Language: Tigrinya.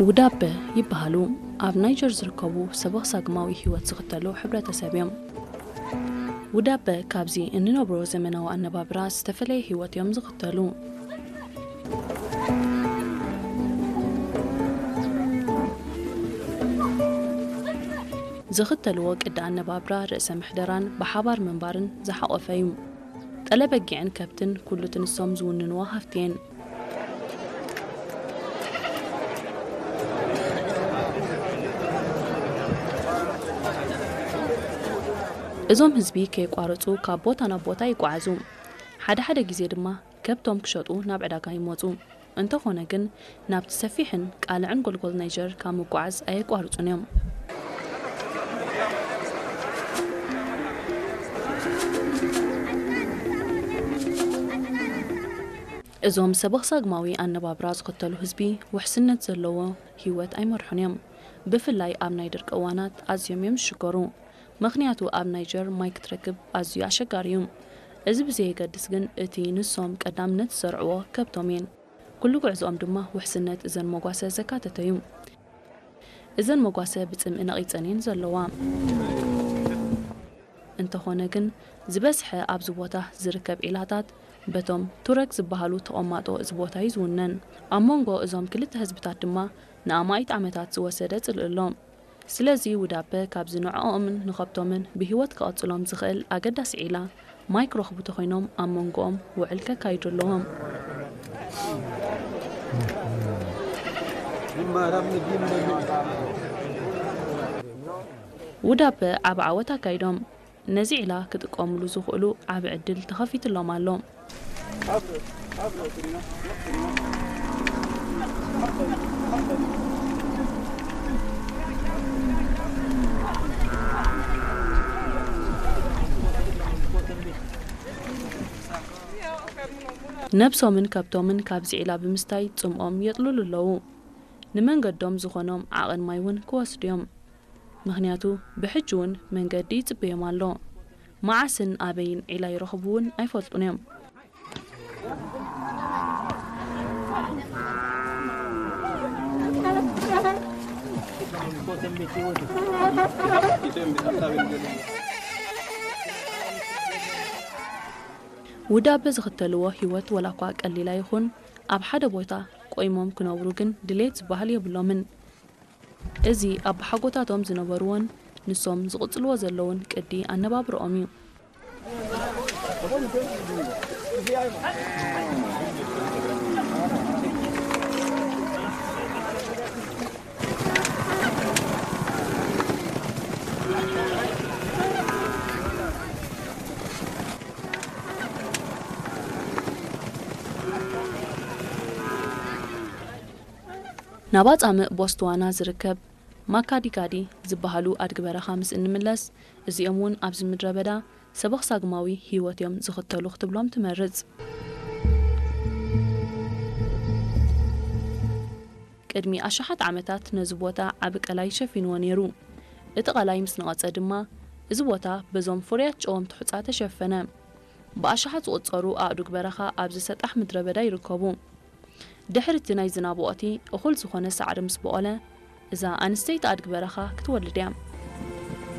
ውዳበ ይበሃሉ። ኣብ ናይጀር ዝርከቡ ሰበኽ ሳግማዊ ህይወት ዝኽተሉ ሕብረተሰብ እዮም። ውዳበ ካብዚ እንነብሮ ዘመናዊ ኣነባብራ ዝተፈለየ ህይወት እዮም ዝኽተሉ። ዝኽተልዎ ቅዲ ኣነባብራ ርእሰ ምሕደራን ብሓባር ምንባርን ዝሓቖፈ እዩ። ጠለ በጊዕን ከብትን ኩሉ እቲ ንሶም ዝውንንዎ ሃፍቲ እየን። እዞም ህዝቢ ከየቋረጹ ካብ ቦታ ናብ ቦታ ይጓዓዙ። ሓደ ሓደ ግዜ ድማ ከብቶም ክሸጡ ናብ ዕዳጋ ይመጹ። እንተኾነ ግን ናብቲ ሰፊሕን ቃልዕን ጎልጎል ናይጀር ካብ ምጓዓዝ ኣየቋርጹን እዮም። እዞም ሰበኽ ሳግማዊ ኣነባብራ ዝኽተሉ ህዝቢ ውሕስነት ዘለዎ ህይወት ኣይመርሑን እዮም። ብፍላይ ኣብ ናይ ድርቂ እዋናት ኣዝዮም እዮም ዝሽገሩ። ምኽንያቱ ኣብ ናይጀር ማይ ክትረክብ ኣዝዩ ኣሸጋሪ እዩ። እዚ ብዘየገድስ ግን እቲ ንሶም ቀዳምነት ዝሰርዕዎ ከብቶም እየን። ኩሉ ጉዕዞኦም ድማ ውሕስነት እዘን መጓሰ ዘካተተ እዩ። እዘን መጓሰ ብጽምኢ ነቒጸን እየን ዘለዋ። እንተኾነ ግን ዝበዝሐ ኣብዚ ቦታ ዝርከብ ዒላታት በቶም ቱረግ ዝበሃሉ ተቐማጦ እዚ ቦታ እዩ ዝውነን። ኣብ መንጎ እዞም ክልተ ህዝብታት ድማ ንኣማኢት ዓመታት ዝወሰደ ጽልኢ ኣሎ። ስለዚ ውዳበ ካብዚ ንዕኦምን ንኸብቶምን ብህይወት ክቐጽሎም ዝኽእል ኣገዳሲ ዒላ ማይ ክረኽቡ ተኾይኖም ኣብ መንጎኦም ውዕል ከካይዱ ኣለዎም። ውዳበ ዓቢ ዓወት ኣካይዶም ነዚ ዒላ ክጥቀምሉ ዝኽእሉ ዓቢ ዕድል ተኸፊትሎም ኣሎ። ነብሶምን ከብቶምን ካብዚ ዒላ ብምስታይ ጽምኦም የጥልሉ ኣለዉ። ንመንገዶም ዝኾኖም ዓቐን ማይ እውን ክወስዱ እዮም። ምኽንያቱ ብሕጂ እውን መንገዲ ይጽበዮም ኣሎ። መዓስን ኣበይን ዒላ ይረኽቡ እውን ኣይፈልጡን እዮም። ውዳበ ዝኽተልዎ ህይወት ወላ እኳ ቀሊል ኣይኹን፣ ኣብ ሓደ ቦታ ቆይሞም ክነብሩ ግን ድሌት ዝበሃል የብሎምን። እዚ ኣቦሓጎታቶም ዝነበርዎን ንሶም ዝቕጽልዎ ዘለውን ቅዲ ኣነባብርኦም እዩ። ናብ ኣጻምእ ቦስትዋና ዝርከብ ማካዲጋዲ ዝበሃሉ ኣድጊ በረኻ ምስ እንምለስ፣ እዚኦም እውን ኣብዚ ምድረ በዳ ሰበኽ ሳግማዊ ህይወት እዮም ዝኽተሉ ክትብሎም ትመርጽ። ቅድሚ ኣሽሓት ዓመታት ነዚ ቦታ ዓቢ ቀላይ ሸፊንዎ ነይሩ። እቲ ቀላይ ምስ ነቐጸ ድማ፣ እዚ ቦታ በዞም ፍሩያት ጨወምቲ ሑጻ ተሸፈነ። ብኣሽሓት ዝቑጸሩ ኣእዱግ በረኻ ኣብዚ ሰጣሕ ምድረ በዳ ይርከቡ። ድሕሪ እቲ ናይ ዝናብ ወቕቲ እኹል ዝኾነ ሳዕሪ ምስ በቖለ፣ እዛ ኣንስተይቲ ኣድጊ በረኻ ክትወልድ እያ።